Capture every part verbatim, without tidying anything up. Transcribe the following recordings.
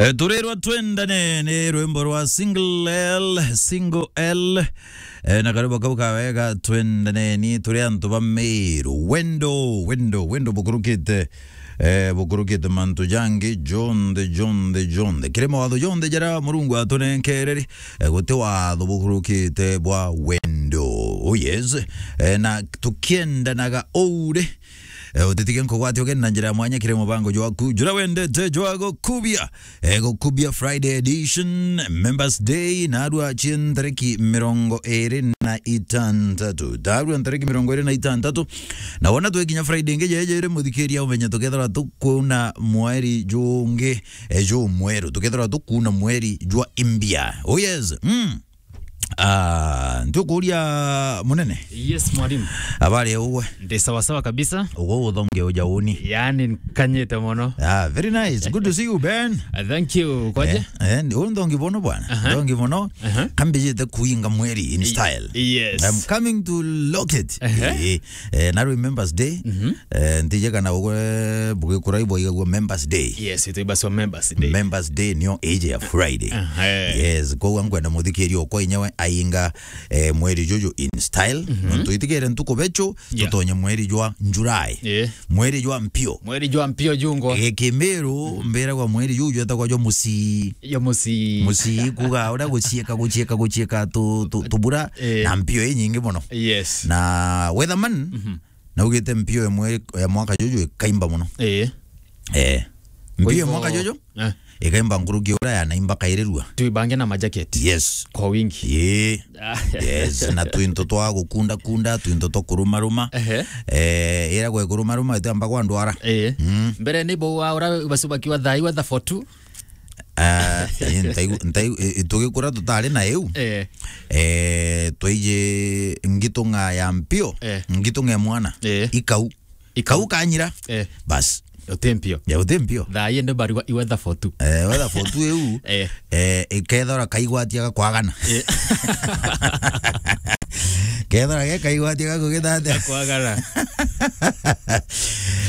E, turirwa twendane ni rwimbo rwa Single L, Single L. E, na karibu kau kawega, twendaneni turi antu ba Meru. Wendo, wendo, wendo bukurukite, e, bukurukite mantu jangi jonthe, jonthe, jonthe. Kiri mawatho jonthe jaria Murungu atunenkereri, e, guti watho bukurukite bwa wendo. Oh yes. E, na tukiendanaga oure, e, utitige nkugwate ugeni na njira ya mwanya kiri mubango jwaku jura wendete jwa gukubia. E, gukubia Friday edition, Members Day, narua cie ntariki mirongo iri na itantatu. Narua ntariki mirongo iri na itantatu. Na wona twikinya Friday ingi jeje iri muthikiria umenye tukethirwa tukuna mweri jungi, e, jumweru. Tukethirwa tukuna mweri jwa imbia. Oh yes. Mm. Ah, ntukuria munene. Yes, mwalimu. Habari ya ugwe? Ndi sawa sawa kabisa. Ugwe uthonge uja uni. Yaani, nkanyite mono. Ah, very nice. Good to see you, Ben. Ah, thank you. Kwaje? Eh, eh, ndi- uyu nthongi bono bwana. Aha. Nthongi bono. Aha. Kambijite kuinga mweri in style. Yes. I'm coming to lock it. Aha. Eh, eh, na Remembrance Day. Mhm. Eh, ntije kana ugwe bugikura ibo igagua Members Day. Yes, it was Members Day. Members Day nio age ya Friday. Aha. Yes, kwa nkwenda muthikiria okwa inyewe ainga, eh, mweri juju in style. Mhm. Nontu itigere ntuku becho, yeah, tutonye mweri jwa July. Yeah. Mweri jwa mpio. Mweri jwa mpio jungo. Eh, Kimiru, mbiragwa mweri juju etagwa jwa musi. Jwa musi. Musi kuga, uria gucieka, gucieka, gucieka tu, tu, tubura, eh, na mpio inyingi mono. Yes. Na weatherman, mhm, naugite mpio imwe ya mwaka juju ikaimba mono. Eh. Eh. Kwa mpio ya hivyo, mwaka juju, eh, ikaimba nkuruki uria yanaimba kairirua. Tuibange na majaketi. Yes. Kwa wingi. Ii. Ah. Yes, na twinto twa gukunda kunda, twinto twa kurumaruma. Ehe. Eh, ira gwe kurumaruma itamba kwa ndwara. Eh. Mm. Mbere ni bo wa ura basubakiwa thai weather for two. Ah, ii, ntaigu-, ntaigu-, i-, i-, tugikura tutari na iu. Eh. Eh, twaiji ngitung'a ya mpio, eh, ngitung'a ya mwana. Eh. Ikau. Ikau. Kau kanyira. Eh. Bas. Uti mpio. Ya, uti mpio. Thaa ii ndi barua i weather for two. Eh, weather for two iu. Eh. Eh, ikethora kaigwatia gakwagana. Eh. Kethora ge kaigwatia gakugithatia. Gakwagana.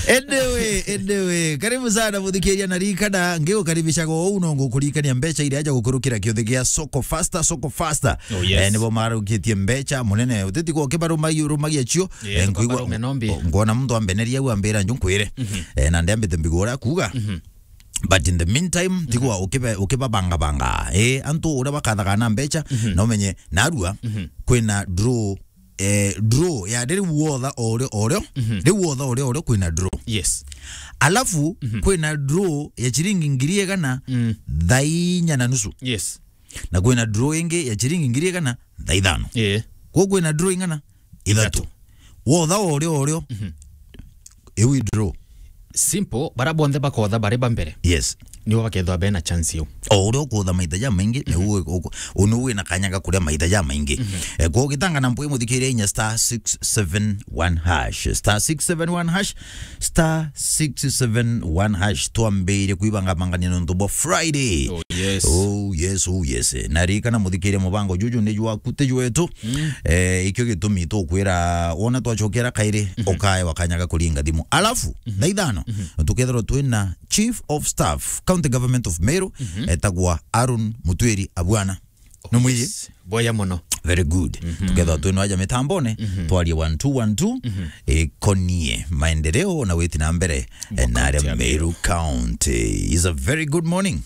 Anyway, anyway, karibu sana muthikiria na rikana, ngigukaribishaga uu no ngukurikania mbeca iria aja gukurukira kiuthi gia Soko Faster, Soko Faster. Oh, yes. Eh, nibo marukitie mbeca munene. Utitigwa ukibarumagia, urumagia cio. Yes, eh, nkuigua, barume nombi. Ngona muntu ambeneria au ambira nju nkwire. Mhm. Eh, na ndiambite mbigura kuga. Mhm. But in the meantime, mhm, tigwa ukibe-, ukibabangabanga. Eh, antu uria bakathaga na mbeca, mhm, na umenye narua, mhm, kwina draw, eh, draw ya riu wotha o rio, o rio, mhm, riu wotha o rio, o rio kwina draw. Yes. Alafu, mhm, kwina draw ya ciringi ngiri igana, mm, thaa inya na nusu. Yes. Na kwina draw ingi ya ciringi ngiri igana thaa ithano. Eh. Kwou kwina draw ing'ana? Ithatu. Ithatu. Wotha o rio, o rio. Mhm. Iu i draw. Simple, bara bonthe bakotha bari ba mbere. Yes. Nibo bakethwa bena chance iu. O uria ukutha maita jamaingi, mhm, niu uku-, u-, niu wina kanya ga kuria maita jamaingi. Mhm. Eh, kwou gitanga na mpwi muthikiria inya star six seven one hash. Star six seven one hash. Star six seven one hash. Twambirie kwibangabangania nontu bwa Friday. Oh, yes. Oh, yes, oh, yes. Na ririkana muthikiria mubango juju ni jwaku, ti jwetu. Mm. Eh, ikio gitumi tukwira, wona twacokera kairi, mhm, ukaewa kanya ga kuringa thimu. Alafu, mhm, thaa ithano, mhm, tukethirwa twina Chief of Staff, County Government of Meru, mhm, etagwa Aaron Mutwiri Abwana. Numwiji? Yes. Boya mono. Very good. Mhm. Tukethwa twino aja mitambone, mhm, twarie one two one two, mhm, ikonie maendeleo na witi na mbere, eh, na aria Meru County. Is a very good morning.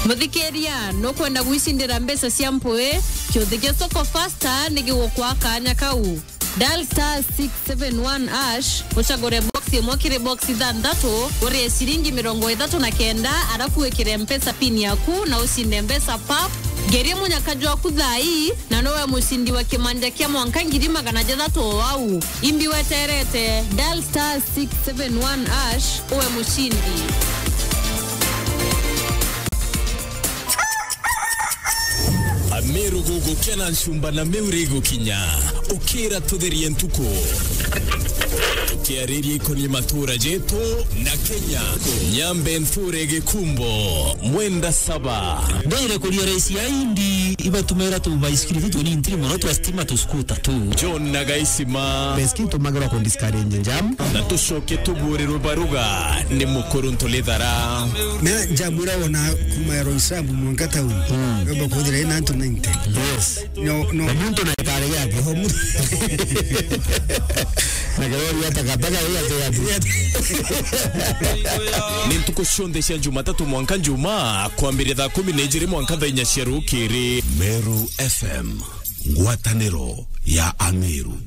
Muthikiria, nukwenda gwicindira mbeca cia mpwi? Kiuthi gia Soko Faster ni gigukwa kanya kau. Dial star six seven one hash, ucagure box imwe kiri box ithanthatu, urie ciringi mirongo ithatu na kenda, arafu wikire Mpesa pin yaku na ucinde mbeca pap. Ngerie munyaka jwaku thaa ii, na nowe mucindi wa kimanja kia mwanka ngiri magana jathatu o au. Imbi weterete, dial star six seven one hash, uwe mucindi. Ameru gugukena ncumba na miuri igukinya. Ukira tutherie ntuku. Kiariria ikoni matura jetu na Kenya. Nyambe nthure gikumbo, mwenda saba. Ndwire kuria raisi ya indi, ibatumira tu baisikiri tu tunini ntiri mono twa stima tu scooter tu. John na Gaisima. Baisikiri tumagirwa ku discourage jam. Na tucoke tuburirwe baruga ni mukuru ntulithara. Na jam ira wona kuma Roysambu mwanka town. Mm. Yomba kuthira ina antu ninety. Yes. No, no. Na muntu na ikare yake. Na kirori ya takataka ya te ya. Ni ntuku cionthe cia Jumatatu mwanka Njumaa, kwambiria thaa kumi na ijiri mwanka thaa inya cia rukiri. Meru F M, ngwataniro ya Ameru.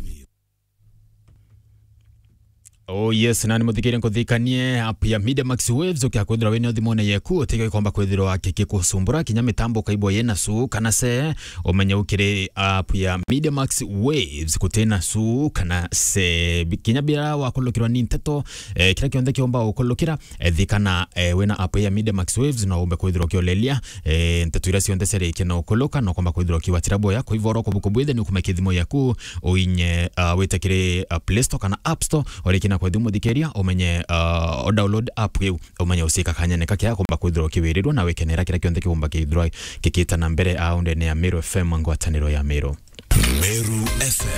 Oh yes, na ni muthikirie nkuthikanie app ya Media Max Waves ukia kwithira wina thimune yeku, utike komba kwithirwa kiki kusumbura kinya mitambo kaibwa yena su kana se, umenye ukiri app ya Media Max Waves kutina su kana se. Kinya bila wakulukirwa ni nteto, eh, kira kionthe kiomba ukulukira, eh, thikana, eh, wina app ya Media Max Waves no umbe kwithirwa ukiolelia, eh, nteto ira cionthe ciarikia na ukuluka no komba kwithirwa ukiwatira boya. Kwa hivyo oro kubuku bwithe ni ukumekia thimu yaku, uinye, uh, wite kiri, uh, Play Store kana App Store, urikina kwa thimu thikiria, umenye, uh, o download app iu, umenye ucika kanyene kake akomba kwithirwa ukiwirirwa na wikenera kira kionthe kiumba kithirwa kikita na mbere aundene ya Meru F M, ngwataniro ya Meru. Meru F M.